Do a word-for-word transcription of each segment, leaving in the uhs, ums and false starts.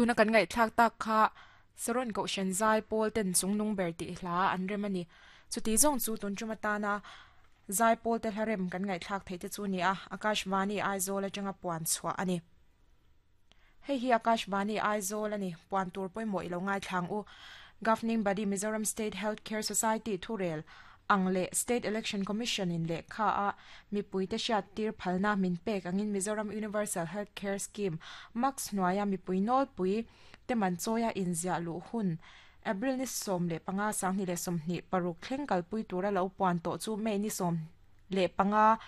Tuna kan ngai thlak tak kha saron ko shen zai pawl ten chungnung ber ti hla an rem ani chuti zong chu tun chuma tana zai pawl te hlarem kan ngai thlak thei te chu ni a Akashvani Aizawl atanga puan chhuah ani hei hi Akashvani Aizawl ani puan tur pawimawh ilo ngai thlang u Governing Body Mizoram State Healthcare Society thurel ang le State Election Commission in le kha a mipui te hriat tir phalna min pek angin Mizoram Universal Healthcare Scheme max hnuaia mipui nawl pui te man chawia inziah luh hun April ni sawm leh panga sanghnih leh sawmhnih paruk thleng kalpui tura lo puan tawh chu May ni sawm leh panga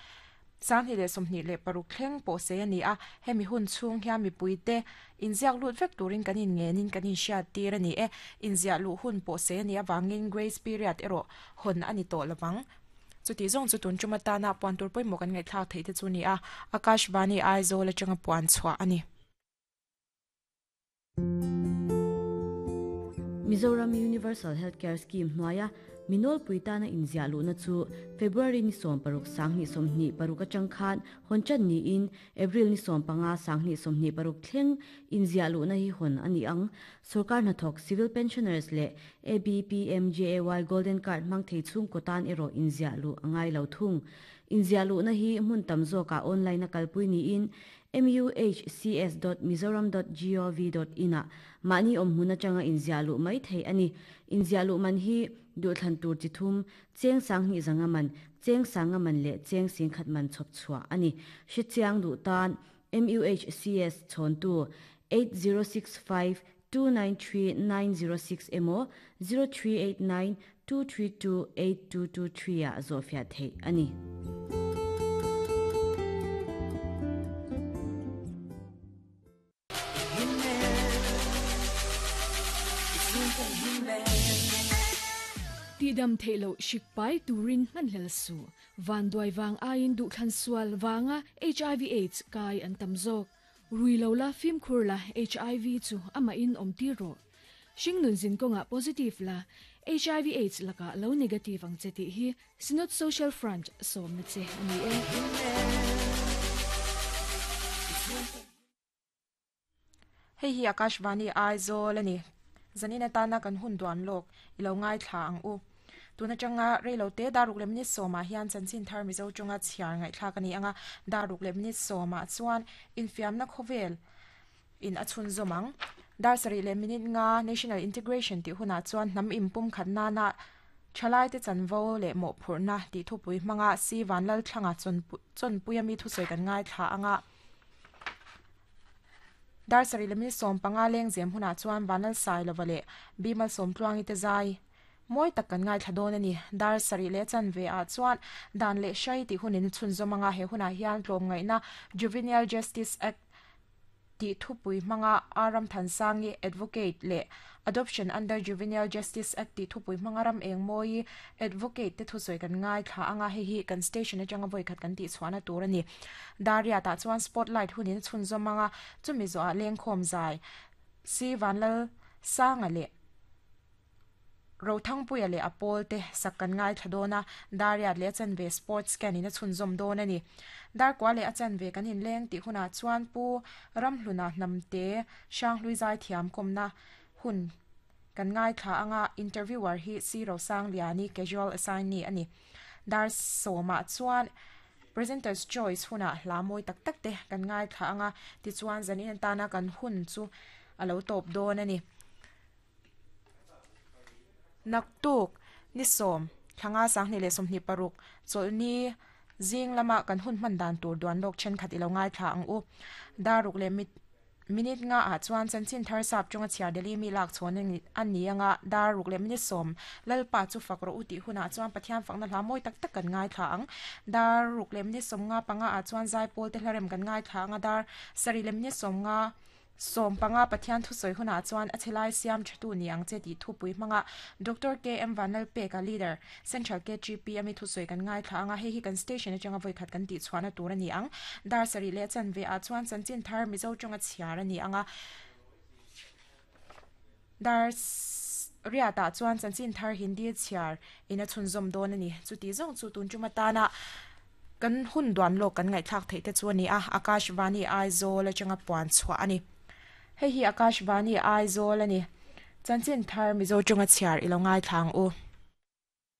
sanghnih leh sawmhnih leh paruk thleng pawh sei ani a hemi hun chhung hian mipui te inziak lut vek turin kan in ngenin kan in hriat tir ani e inziah luh hun pawh sei ani awangin grace period erawh hawn ani tawh lovang chuti zawng chu tun chuma tana puan tur pawimawh kan ngaihthlak theih te chu ni a Akashvani Aizawl atanga puan chhuah ani. Mizoram Universal Healthcare Scheme hnuaia minol puitana inziah luhna chu February ni sawm paruk sanghnih sawmhnih paruk atang khan hawn ni in April ni sawm panga sanghnih sawmhnih paruk thleng inziah luhna hi hawn ani ang sarkar hnathawk civil pensioners leh A B P M J A Y Golden Card hmang thei chhung kawtan erawh inziah luh angai lo thung inziah luhna hi hmun tam zawkah online a kalpui niin muhcs dot mizoram dot gov dot in a mahni awm hmun atanga inziah luh mai thei ani inziah luh man hi duhthlan tur chi thum cheng sanghnih zanga man cheng sanga man leh cheng singkhat man chhawp chhuah ani hrechiang duh tan M U H C S chhawntu eight zero six five two nine three nine zero six emaw zero three eight nine two three two eight two two three a zawhfiah theih ani. Ti dam theilo shikpai turin man hlel su van duai wang ain du thlan sual wanga H I V AIDS kai an tam zawk rui lo la fim khur la H I V chu ama in om ti ro singnun zin konga positive la H I V AIDS laka lo negative ang cheti hi Synod Social Front som na che ani e. Hei hi Akashvani Aizawl ani zanina tana kan hun duan lok ilo ngai thla ang u tuna changa reilo te daruk le minute soma hian chanchin thar Mizo chunga chhiar ngai thla kani anga daruk le minute soma chuan infiamna khovel in achun zomang dar sari le minute nga national integration ti huna chuan hnam impum khatna na thalai te chanvo le mo phurna ti thupui hmanga si vanlal thlanga chon chon puiami thu soi kan ngai thla anga dar sari le minute som panga leng zem huna chuan vanal sai lovale bimal som tluangi te zai moi tak kan ngai thladon ani dar sari le chan ve a chuan dan le shai ti hunin chun zomanga he huna hian tlom ngai na Juvenile Justice Act ti thupui hmanga Aram Thansangi advocate le Adoption under Juvenile Justice Act ti thupui hmanga ram eng moi advocate te thusoi kan ngai thla anga he hi kan station atanga voi khat kan ti chhuana tur ani daria ta chuan spotlight hunin chun zomanga chumi zo a leng khom zai si vanlal sanga le rothang puia le apol te sakkan ngai thladona daria le chan ve sports can ina chhun zom don ani dar kwa le achan ve kan in leng ti huna chuan pu ramhluna namte shanghlui zai thiam komna hun kan ngai thla anga interviewer hi si ro sang liani casual assignee ani dar soma chuan presenters choice huna hla moi tak tak te kan ngai thla anga ti chuan zanin tana kan hun chu alo top don ani naktuk ni som thanga sanghni le somni paruk cholni zing lama kan hun man dan tur duan lok chen khat ilo ngai thla ang u daruk le mit minute nga a chuan chanchin thar sap chunga chhiar deli mi lak chhon ani ani anga daruk le minute som lalpa chu fakro uti huna chuan Pathian fakna hla moi tak tak kan ngai thla ang daruk le minute som nga panga a chuan zai pol te hlarem kan ngai thla anga dar sari le minute som nga som panga Pathian thu soi huna chuan a chelai siam thatu niang che ti thu pui hmanga Doctor K M Vanal pe ka leader Central K G P ami thu soi kan ngai thla anga he hi kan station atanga voi khat kan ti chhuana tur ani ang dar sari le chan ve a chuan chanchin thar Mizo chunga chhiar ani anga dar ria ta chuan chanchin thar Hindi chhiar ina chhunzawm dawn ani chuti zawng chu tun chuma tana kan hun duan lawk kan ngaihthlak theih te chu ani a Akashvani Aizawl atanga puan chhuah ani. Hei hi Akashvani Aizawl ani. Chanchin thar Mizo chunga chhiar ilo ngai thlang u.